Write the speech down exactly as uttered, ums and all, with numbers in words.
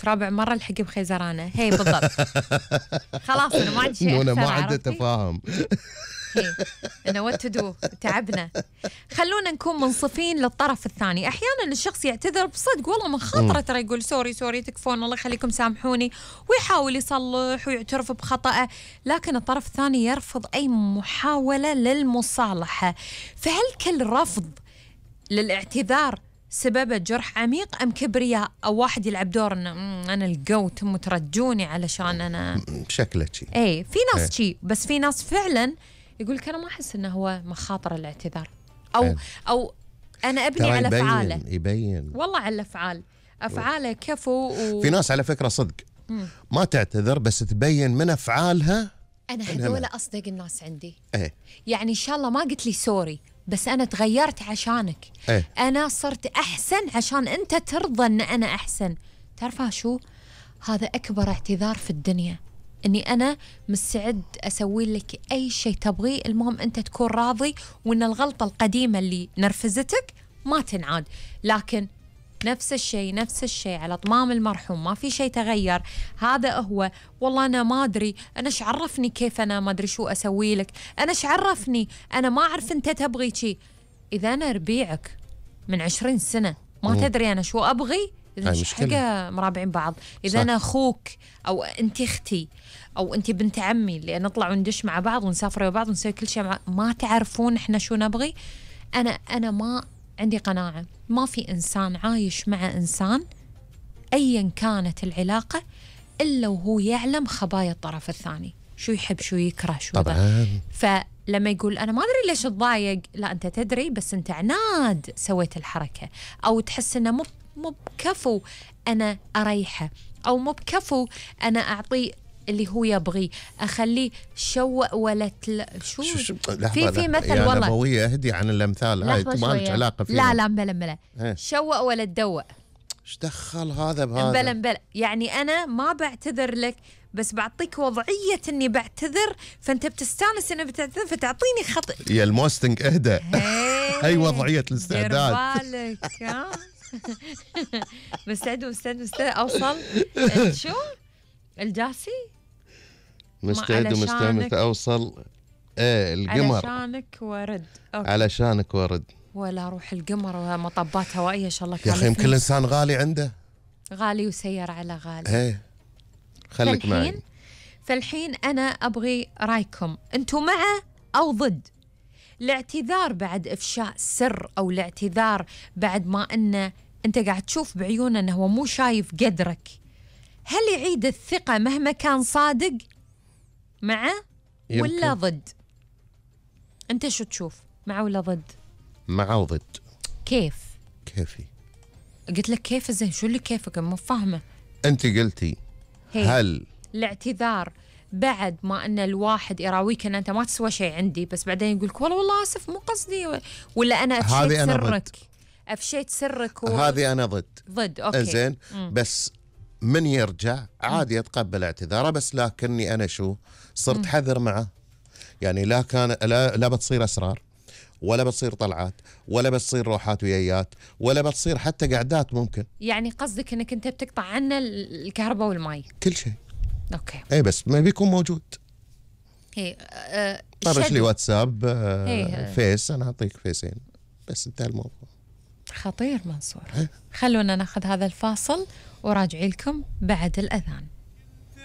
زوجك رابع مرة الحقي بخيزرانة. هي بالضبط. خلاص أنا ما عندي شيء أنا أكثر. ما عنده تفاهم. هي أنا وات تو تعبنا. خلونا نكون منصفين للطرف الثاني. أحيانا الشخص يعتذر بصدق والله من خاطره، ترى يقول سوري سوري تكفون الله يخليكم سامحوني، ويحاول يصلح ويعترف بخطأه، لكن الطرف الثاني يرفض أي محاولة للمصالحة. فهل كل رفض للاعتذار سببه جرح عميق أم كبرياء، أو واحد يلعب دور إنه أنا القوت مترجوني علشان أنا شكله شيء؟ إيه في ناس شيء، بس في ناس فعلا يقول لك أنا ما أحس إنه هو مخاطر الاعتذار، أو أه. أو أنا أبني على يبين أفعاله. يبين والله على الأفعال، أفعاله كفو و... في ناس على فكرة صدق مم. ما تعتذر بس تبين من أفعالها. أنا هذول أصدق الناس عندي. إيه؟ يعني إن شاء الله ما قلت لي سوري، بس أنا تغيرت عشانك. إيه؟ أنا صرت أحسن عشان أنت ترضى أن أنا أحسن. تعرفها شو؟ هذا أكبر اعتذار في الدنيا، أني أنا مستعد أسوي لك أي شيء تبغيه، المهم أنت تكون راضي وأن الغلطة القديمة اللي نرفزتك ما تنعاد. لكن نفس الشيء نفس الشيء على طمام المرحوم، ما في شيء تغير. هذا هو والله أنا ما أدري، أنا إيش عرفني كيف أنا ما أدري شو أسوي لك، أنا إيش عرفني، أنا ما أعرف أنت تبغي شيء. إذا أنا ربيعك من عشرين سنة ما مم. تدري أنا شو أبغي، إذا مش حاجة مرابعين بعض. إذا صح. أنا أخوك أو أنت أختي أو أنت بنت عمي اللي نطلع وندش مع بعض ونسافر مع بعض ونسوي كل شيء مع... ما تعرفون إحنا شو نبغي. أنا أنا ما عندي قناعة ما في إنسان عايش مع إنسان أيا كانت العلاقة إلا وهو يعلم خبايا الطرف الثاني، شو يحب شو يكره شو طبعا. فلما يقول أنا ما أدري ليش تضايق، لا أنت تدري بس أنت عناد سويت الحركة، أو تحس إنه مو مو بكفو أنا أريحه، أو مو بكفو أنا أعطيه اللي هو يبغي، أخليه شوق ولا تل... شو, شو, شو في في مثل يعني والله أبوية اهدي عن الأمثال هاي ما لك علاقة فيها. لا لا مبلا مبلا شوق ولا تدوق. ايش دخل هذا بهذا؟ مبلا مبلا يعني أنا ما بعتذر لك بس بعطيك وضعية إني بعتذر، فأنت بتستانس إني بتعتذر فتعطيني خط. يا الموستنج اهدى. هاي وضعية الاستعداد. دير بالك ها. مستعد مستعد مستعد أوصل شو الجاسي مستعد ومستعد أوصل ايه القمر علشانك ورد. أوكي. علشانك ورد ولا روح القمر ومطبات هوائية إن شاء الله. يا أخي يمكن الإنسان غالي عنده، غالي وسير على غالي. ايه خليك معي. فالحين أنا أبغي رأيكم، أنتم مع أو ضد الاعتذار بعد إفشاء سر، أو الاعتذار بعد ما أنه أنت قاعد تشوف بعيونه أنه هو مو شايف قدرك؟ هل يعيد الثقة مهما كان صادق؟ مع يمكن. ولا ضد؟ أنت شو تشوف، مع ولا ضد؟ مع وضد. كيف؟ كيفي؟ قلت لك كيف زين، شو اللي كيفك مو فاهمة؟ أنت قلتي هل الاعتذار بعد ما أن الواحد يراويك أن أنت ما تسوى شيء عندي، بس بعدين يقولك والله والله آسف مو قصدي، ولا أنا أفشيت أنا سرك ضد. أفشيت سرك و... هذه أنا ضد. ضد أوكي زين. بس من يرجع عادي أتقبل اعتذاره، بس لكني أنا شو صرت حذر معه، يعني لا كان لا, لا بتصير أسرار، ولا بتصير طلعات، ولا بتصير روحات ويايات، ولا بتصير حتى قعدات ممكن. يعني قصدك انك انت بتقطع عنا الكهرباء والماء كل شيء. اوكي اي بس ما بيكون موجود. اي أه طرش لي واتساب أه فيس، انا اعطيك فيسين بس انتهى الموضوع. خطير منصور. خلونا ناخذ هذا الفاصل وراجعي لكم بعد الأذان.